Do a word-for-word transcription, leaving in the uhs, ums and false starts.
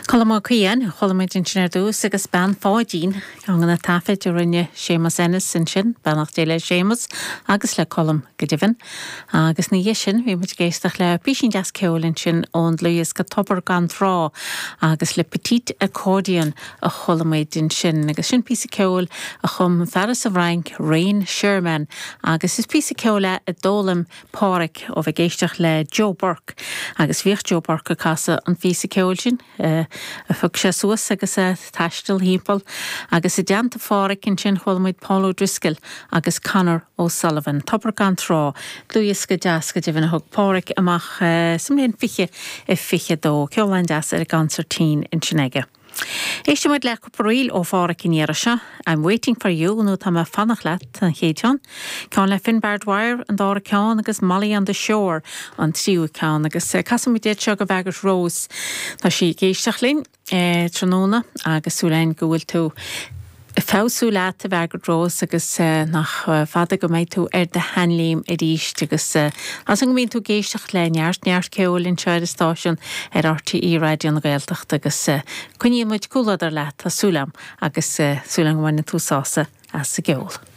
Colm Ó Ciain, chuala muid ansin ar dtús agus Bean Pháidín, ceann de na taifid a rinne Séamus Ennis ansin, beannacht Dé le Séamus agus le Colm go deimhin. Agus ina dhiaidh sin bhí muid ag éisteacht le píosín deas ceoil ansin ón dlúthdhiosca Tobar gan Trá agus Le Petit Accordion a chuala muid ansin agus sin píosa ceoil a chum fear sa bhFrainc Rain Sherman agus is píosa ceoil é a d'fhoghlaim Páraic ó bheith ag éisteacht le Joe Burke agus bhíodh Joe Burke ag casadh an phíosa ceoil sin uh, a phioc sé suas agus ag taisteal timpeall agus i dteannta Pháraic ansin chuala muid Paul O'Driscoll agus Conor O'Sullivan. Tobar gan Trá, dlúthdhiosca deas go deimhin a thug Páraic amach uh, sa mbliain fiche i fiche dó, ceol an-deas ar an gconsairtín ansin aige. Éistfidh muid le cúpla ríl ó Pháraic an iarraidh seo, I'm waiting for you nó tá mé ag fanacht leat an chéad cheann. Ceann le Finbar Dwyer an dara ceann agus Molly on the Shore an tríú ceann agus eh, casfaidh muid seo go Mhargaret Rose Tá sí ag éisteacht linn eh, tráthnóna agus súil againn go bhfuil tú feabhsú leat a Mhargaret Rose agus uh, nach uh, fada go mbeidh tú ar do sheanléim arís agus uh, as an go mbíonn tú ag éisteacht le neart neart ceoil anseo ar an stáisiún ar RTÉ Raidió na Gaeltachta agus uh, coinníonn muid comhluadar leat tá súil agam agus uh, súil agam go mbaineann tú sásamh as an gceol.